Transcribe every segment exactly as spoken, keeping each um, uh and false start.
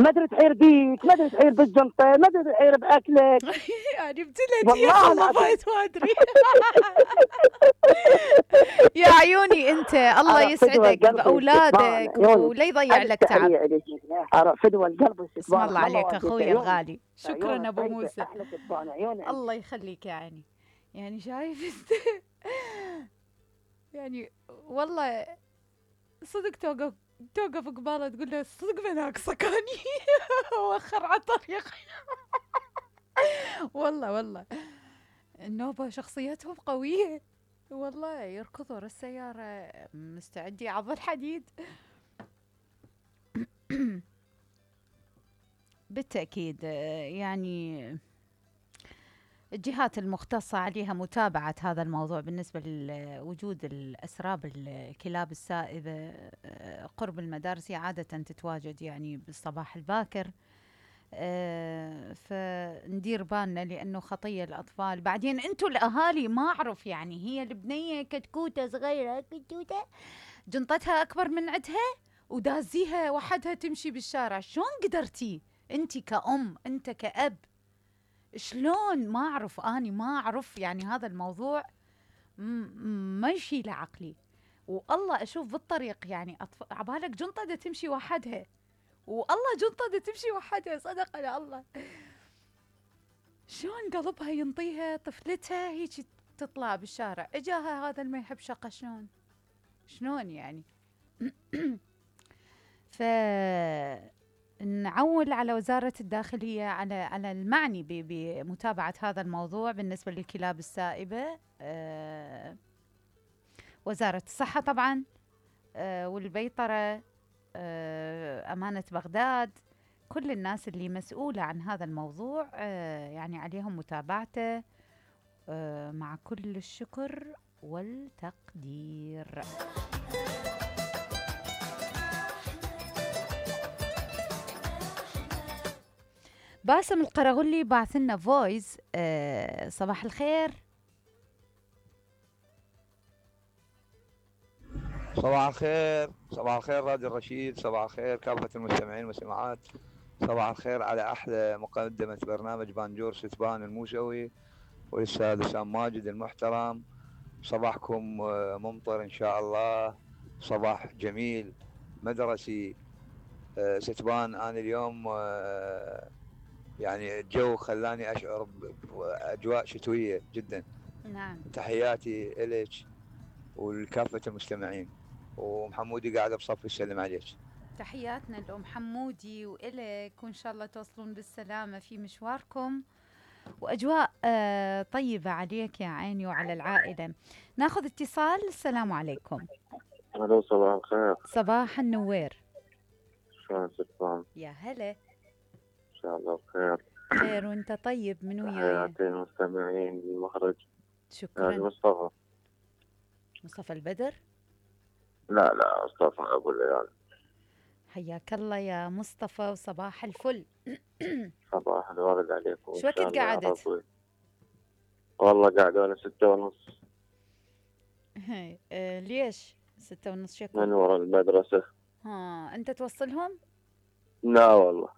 ما ادري تحير بيك، ما ادري تحير بالجنطه، ما ادري تحير باكلك. يعني ابتليت يا والله العظيم خلفت ما ادري. يا عيوني انت، الله أرى فدوى يسعدك القلب والشيطان باولادك عيوني. ولا يضيع ألف لك تعب. تحية إليك. أرى فدوى القلب اسم والشيطان. الله عليك والله اخوي عيونك الغالي، شكرا عيونك ابو طيبة، موسى. أحلى شيطان عيوني أنت. الله يخليك يا عيني. يعني شايف انت، يعني والله صدق توقف توقف قباله تقول له صدق بناقصك اني. وخر على الطريق. والله والله النوبة شخصيتهم قوية، والله يركضوا ورا السيارة مستعد يعض الحديد. بالتأكيد يعني الجهات المختصة عليها متابعة هذا الموضوع بالنسبة لوجود الأسراب الكلاب السائبة قرب المدارس. هي عادة تتواجد يعني بالصباح الباكر، أه فندير بالنا لأنه خطية الأطفال. بعدين أنتوا الأهالي ما أعرف، يعني هي البنية كتكوتة صغيرة كتكوتة جنطتها أكبر من عدها ودازيها وحدها تمشي بالشارع. شلون قدرتي أنت كأم، أنت كأب، شلون؟ ما أعرف، أني ما أعرف يعني هذا الموضوع ما يشيل عقلي. والله أشوف بالطريق يعني أطف... عبالك جنطة دا تمشي وحدها، والله جنطة دا تمشي وحدها، صدق على الله. شلون قلبها ينطيها طفلتها هيك تطلع بالشارع؟ إجاها هذا ما يحب شقة، شلون شلون يعني؟ ف نعول على وزارة الداخلية، على على المعني بمتابعة هذا الموضوع بالنسبة للكلاب السائبة. أه وزارة الصحة طبعا، أه والبيطرة، أه أمانة بغداد، كل الناس اللي مسؤولة عن هذا الموضوع أه يعني عليهم متابعته أه مع كل الشكر والتقدير. باسم القرغلي بعث لنا فويس. أه صباح الخير. صباح الخير، صباح الخير راديو الرشيد، صباح الخير كافة المستمعين والمستمعات، صباح الخير على أحلى مقدمة برنامج بانجور ستبان الموسوي والأستاذ وسام ماجد المحترم. صباحكم ممطر إن شاء الله، صباح جميل مدرسي. ستبان أنا اليوم يعني الجو خلاني أشعر بأجواء شتوية جدا. نعم. تحياتي إليك ولكافة المستمعين، ومحمودي قاعدة بصف يسلم عليك. تحياتنا لأم حمودي وإلك، وإن شاء الله توصلون بالسلامة في مشواركم، وأجواء آه طيبة عليك يا عيني وعلى العائلة. ناخذ اتصال. السلام عليكم. الو صباح الخير. صباح النوير. شلون ستبان؟ يا هلا. ان شاء الله بخير. خير وانت طيب. من وياي؟ تحياتي المستمعين بالمخرج. شكرا. هذا مصطفى. مصطفى البدر؟ لا لا مصطفى ابو الليال. حياك الله يا مصطفى وصباح الفل. صباح الورد عليكم. شو وقت قعدت؟ والله قاعدة أنا ستة ونص. هاي آه ليش ستة ونص؟ شكو من ورا المدرسة. ها أنت توصلهم؟ لا والله،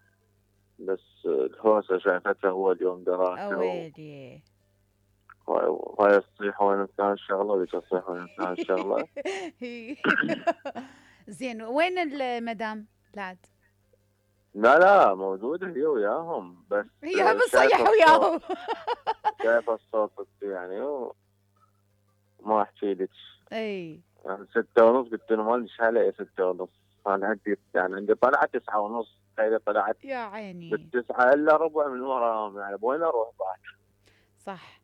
بس الهوسة شايفتها هو اليوم دراسة. أويلي. وهاي تصيح وين كان الشغلة وذيك تصيح وين كان الشغلة. زين، وين المدام لعد؟ لا لا موجودة هي وياهم، بس هي بصيح وياهم. شايفة الصوت يعني وما أحكي لك. اي يعني ستة ونص قلت له ما ليش هلا ستة ونص. أنا عندي يعني عندي طلعت تسعة ونص، تخيل طلعت يا عيني بالتسعة إلا ربع من وراهم، يعني وين أروح بعد؟ صح.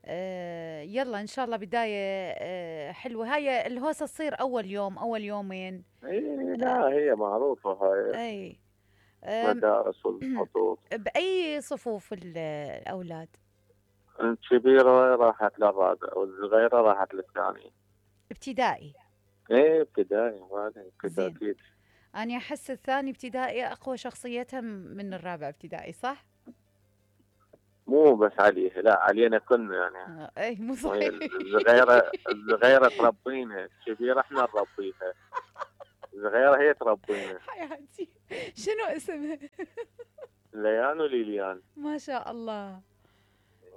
آه يلا إن شاء الله بداية آه حلوة. هاي الهوسة تصير أول يوم أول يومين. اي لا هي معروفة هاي. اي مدارس والخطوط. بأي صفوف الأولاد؟ الكبيرة راحت للرابع والصغيرة راحت للثانية. ابتدائي؟ ايه ابتدائي، هذا كذا اكيد. أنا أحس الثاني ابتدائي أقوى شخصيتها من الرابع ابتدائي، صح؟ مو بس عليه، لا علينا كلنا يعني. آه ايه مو صحيح. الصغيرة الصغيرة تربينا، الكبيرة احنا نربيها. صغيرة هي تربينا. حياتي شنو اسمها؟ ليان وليليان. ما شاء الله.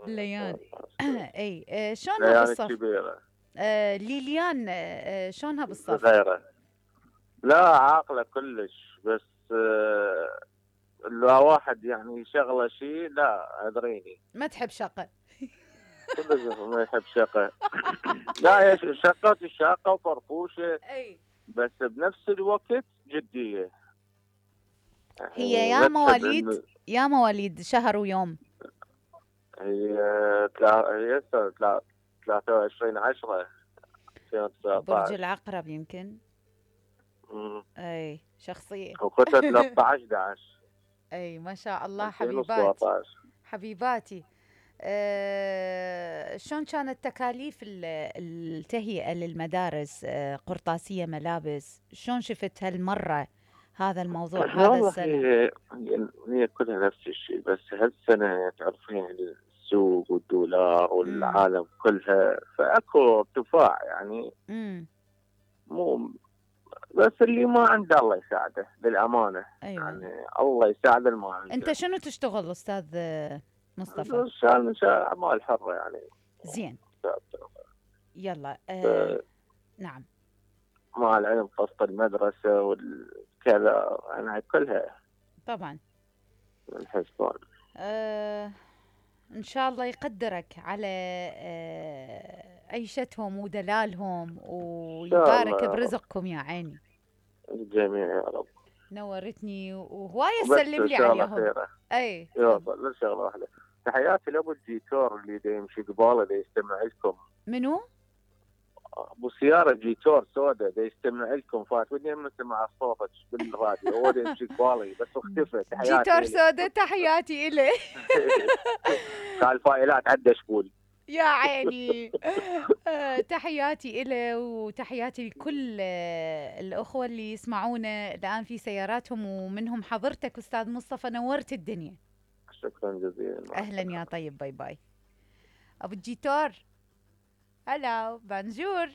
ليان. اي آه، شلونها ليان بالصف؟ الكبيرة. آه ليليان، آه شلونها بالصف؟ صغيرة. لا عاقلة كلش، بس آه لو واحد يعني شغله شيء لا ادريني. ما تحب شقة. كلش ما يحب شقة. لا هي شقة الشاقة وفرفوشة، اي بس بنفس الوقت جدية. هي يعني يا ما تحب مواليد إنه- يا مواليد شهر ويوم. هي تلا... هي هسه تلا... ثلاثة وعشرين عشرة ألفين وتسعة برج عشر. العقرب يمكن. امم اي شخصية. وختها ثلاثة عشر أحد عشر اي ما شاء الله ألفين حبيبات. وسبعة عشر. حبيباتي. أه شلون كانت تكاليف ال- التهيئة للمدارس؟ أه قرطاسية، ملابس، شلون شفت هالمرة هذا الموضوع هذا والله السنة؟ هي هي هي كلها نفس الشيء، بس هالسنة تعرفين السوق والدولار امم والعالم كلها فاكو ارتفاع يعني. امم مو بس اللي ما عنده الله يساعده للأمانة. ايوه. يعني الله يساعد اللي ما عنده. انت شنو تشتغل استاذ آه، مصطفى؟ شغال من شغال أعمال حرة يعني. زين. يلا ف- أه نعم. مع العلم قسط المدرسة والكذا يعني كلها طبعا. من الحسبان. أه ان شاء الله يقدرك على أه عيشتهم ودلالهم إن شاء ويبارك الله يا رب. برزقكم يا عيني. الجميع يا رب. نورتني وهواية وبس سلم لي شغلة عليهم. خيرة. اي يلا تفضل. لا شغلة واحدة. تحياتي لأبو الجيتور اللي دا يمشي قباله دا يستمع لكم. منو؟ ابو سيارة جيتور سودا دا يستمع لكم، فات ودي لما سمع صوتك بالراديو هو دا يمشي قبالي بس اختفى. تحياتي جيتار إلي. سودا، تحياتي إليه. قال فائلات عدى شبول. يا عيني. آه، تحياتي إله وتحياتي لكل آه، الأخوة اللي يسمعونا الآن في سياراتهم، ومنهم حضرتك أستاذ مصطفى، نورت الدنيا. شكرا جزيلا. أهلا يا طيب، باي باي. أبو الجيتار، هلا بانجور.